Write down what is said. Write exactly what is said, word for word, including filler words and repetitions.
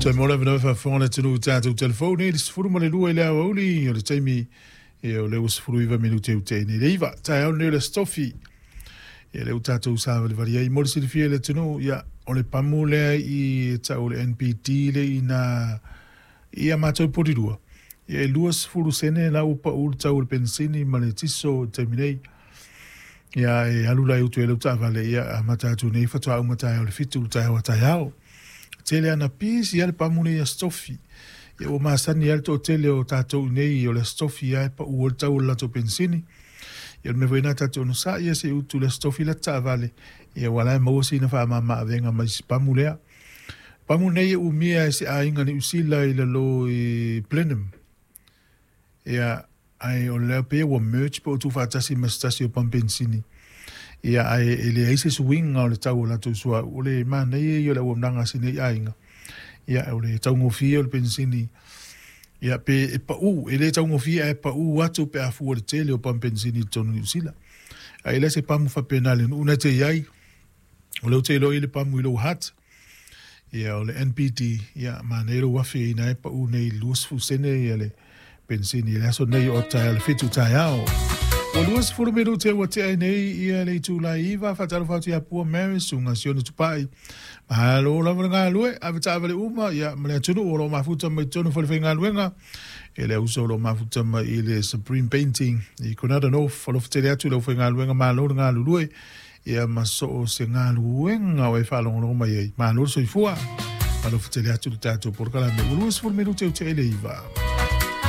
Toe mo le avanoa e faafofoga le atunuu i tatou telefoni i le sefulu ma le lua i le aoauli o le taimi ia o lea ua sefulu iva minute ua tea nei le iva. Taeao lenei o le Aso Tofi ia lea ua tatou savalivali ai mo le silafia e le atunuu ia o le pamu lea i tau o le N P D le i na ia matou polilua ia e lua sefulu sene la ua pau le tau o le penisini ma le tiso i le taimi nei. Ia e alu la i utu e lau taavale ia amata atu nei faatoa uma taeao le fitu le taeao a taeao. Tele ana pisi ia le pamu nei Aso Tofi. Ia ua masani ai le toatele o tatou nei o le Aso Tofi ia e pau ai le tau o le latou penisini. Ia o le mea foi lena tatou onosai ia se i utu le Aso Tofi la taavale ia ua la e maua sina faamama-avega mai si pamu lea. Pamu nei e umia e se aiga Niu Sila i lalo i Blenheim. Ia ai o lea pei ua merge po o tuufaatasi ma se tasi o pamu penisini. Ia ae e leai se suiga o le tau o latou suauu. O le manaia ia o le auaunaga a si nei aiga. Ia o le taugofie o le penisini. Ia pe e pau, e le taugofie ae pau atu pe a fua le tele o pamu penisini i totonu o Niu Sila. Ae le se pamu faapena le nuu na te i ai. O lea ou te iloa i le pamu i lou hat. Ia o le N P D, ia manaia lou afe ina e pau nei i le luasefulu sene ia le penisini i le aso nei o taeao le fitu taeao. Ua luasefulu minute ua tea ai nei ia le itula e iva, faatalofa atu ia Pua Mary, susuga Sione Tupai. Malo lava le galue, ave taavale uma, ia ma le atunuu o lo o mafuta mai totonu o le faigaluega. E le uso o lo o mafuta mai i le Supreme Painting i Coronado North, alofa tele atu i le aufaigaluega malo le galulue. Ia ma so o se galuega o e faalogologo mai ai. Malo le soifua. Alofa tele atu le tatou polokalame. Ua luasefulu minute ua tea i le iva.